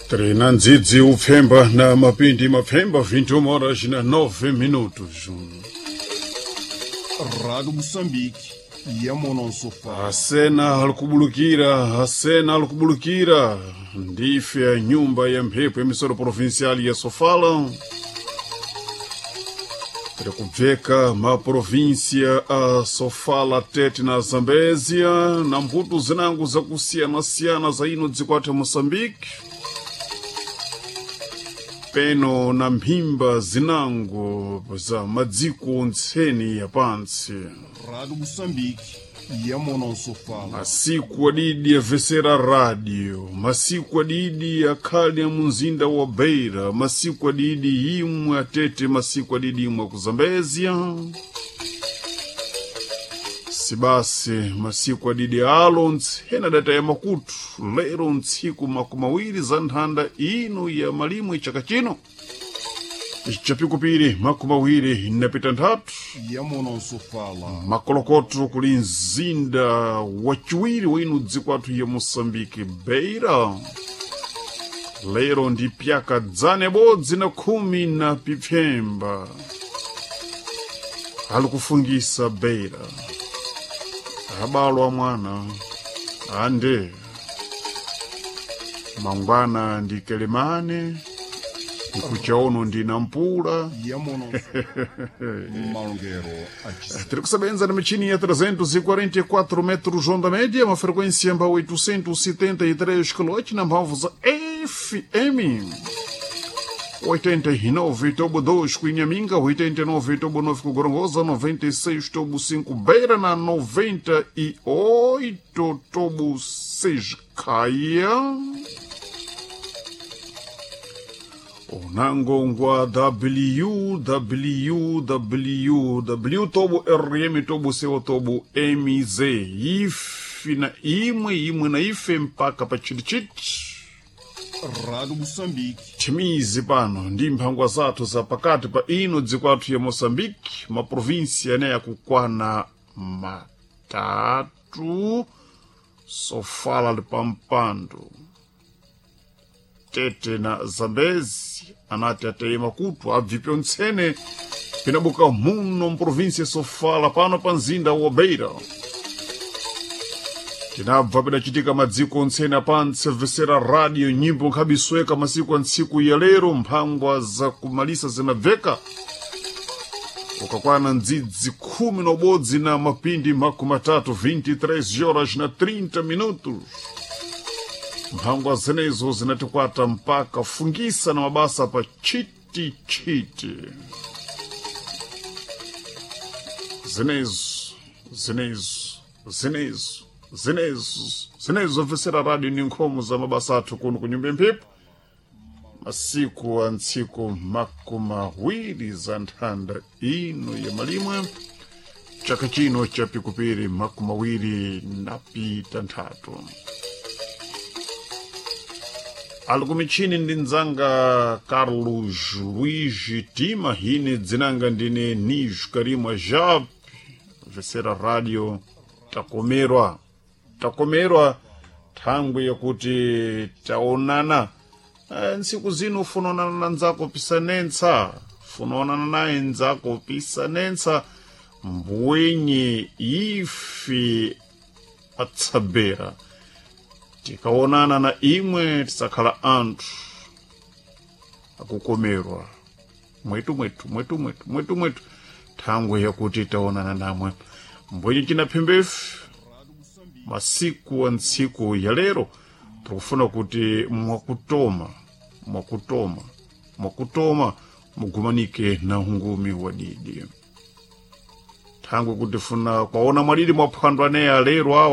Trina ndzidzi upfemba na mapindi mapfemba 21 horas na 9 minutos. Rádio Moçambique e a Monon-Sofá. Asena alikubulukira, asena alikubulukira. Ndife ya nyumba ya mphepo emissora provincial ya Sofala. Tiri kubveka maprovíncia a Sofala, Tete na Zambésia, na mbuto zinango zakusiyana-siyana za ino dzikwatha Moçambique. Peno na mphimba zinango za madziko ntseni ya pantsi. Rádio Moçambique e a Monon-Sofá. Masiku adidi avesera rádio, masiku adidi akhali a munzinda wa Beira, masiku adidi imwe atete, masiku adidi imwe ku Zambésia. Sibasi masiku adidi alo ntsena data ya makutu, lero ntsiku makumi awiri za nthanda ino ya malimwe chaka chino chapikupiri makumi awiri napita nthatu E a Monon-Sofala. makolokoto kuli mzinda wachiwiri wa ino dziko athu ya moçambique beira lero ndi pyaka dzana ibodzi na khumi na pipfemba ali kufungisa beira abalwa mwana ande mangwana ndi kelemane nkuchaono ndi nampula E a Monon-Sofá. Malongueiro a Tissé. Tiri kusebenza na michini ya 344 metros onda média, uma frequência em 873 kHz na mphamvu za FM. 89 tobo 2 ku Inhaminga, 89 tobo 9 ku Gorongosa, 96 tobo 5 Beira na 98 tobo 6 Caia. Unangongwa www tobo rm tobo co tobo mz ife na imwe imwe na ife mpaka pa chitichiti Rádio Moçambique. chimizi pano ndi mphangwa zathu za pakati pa ino dziko athu ya moçambique maprovinsia ane akukwana matatu sofala li pampando tete na zambezi anati ateye makutu abvipe ntsene pinabuka muno mprovinsia sofala pano pa mzinda wa beira tinabva pidacitika madziko ntsene apantse vesera radio nyimbo nkhabisweka masiku a ntsiku ya lero mphangwa za kumalisa zinabveka ukakwana ndzidzi khumi na ubodzi na mapindi makumi atatu 23 horas na 30 minutos mphangwa zenezo zinatikwata mpaka fungisa na mabasa pa chitichiti zinezo zinezo zinezo zinezo zinezo vesera radio ni nkhomo za mabasa athu kuno ku nyumba yamphepo masiku a ntsiku makumi awiri za nthanda ino ya malimwe chaka chino cha pikupiri makumi awiri napita nthatu ali kumichini ndi mdzanga carlos luigi tima hine dzinanga ndine nijo karimwa jap vesera radio takomerwa takomerwa thangwi yakuti taonana. Ntsiku zino ufunaonana na nzako pisanentsa funaonana naye nzako pisanentsa mbwenye ife atsabera tikaonana na imwe tisakhala anthu akukomerwa mwetu mwetu mwetu mwetu mwetu mwetu thangwe yakuti taonana namwe mbwenye cinaphembefu masiku a ntsiku ya lero tikufuna kuti mwakutoma mwakutoma mwakutoma mugumanike na ungumi wadidi thangwe kuti funa kwaona mwadidi mwaphwando aneya lero awa.